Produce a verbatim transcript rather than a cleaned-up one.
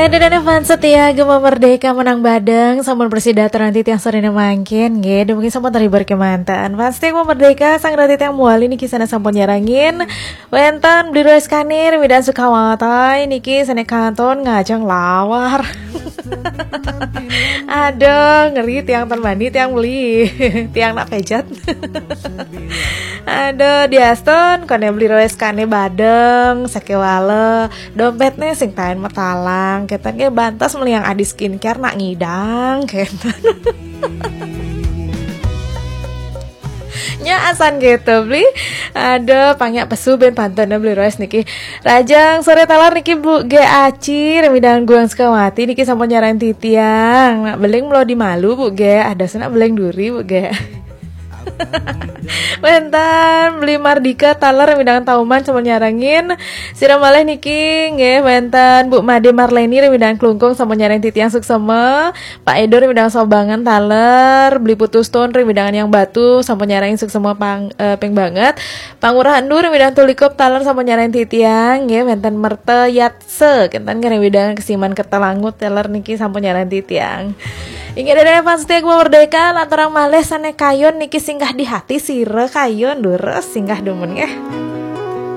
Ada dana fans setia Gema Merdeka menang badeng, sampun prasida atur ring titiang sorene mangkin, nggih, dumugi sampun terhibur kemanten. Fans setia Gema Merdeka, sareng ring titiang mawali niki sané sampun nyarengin. Wénten Beli Roeskane ring Medan Sukawati niki sané kantun ngajeng lawar. Aduh, ngeri tiang tan bani, tiang beli. Tiang nak pejat. Aduh, diastun, koné Beli Roeskane badeng, sakéwala. Dompetné sing taén matalang, kénten ké bantes meli adi skincare nak ngidang, kénten. Nya asan gitu, Beli. Aduh, pang nyak pesu ben pantun Beli Roes niki. Rahajeng sore taler niki Bu G Aci, ring Medan Guang Sukawati niki sampun nyarengin titiang. Nak beling mula di malu, Bu G, ada senak beling duri, Bu G. Wénten Beli Mardika taler ring Medan Tauman sampun nyarengin. Sira malih niki nggih wénten Bu Made Marleni ring Medan Klungkung sampun nyarengin titiang suksema. Pak Edo ring Medan Sobangan taler, Beli Putu Stone ring Medan Yang Batu sampun nyarengin suksema pang, eh, ping banget. Pangurah Endu ring Medan Tulikup taler sampun nyarengin titiang nggih, wénten Merta Yatse kénten ring Medan Kesiman Kertalangu taler niki sampun nyarengin titiang. Inggih, dene fans setia Gema Merdeka, lanturang malih sané kayun niki singgah di hati sira kayun, durus singgah dumun nggih.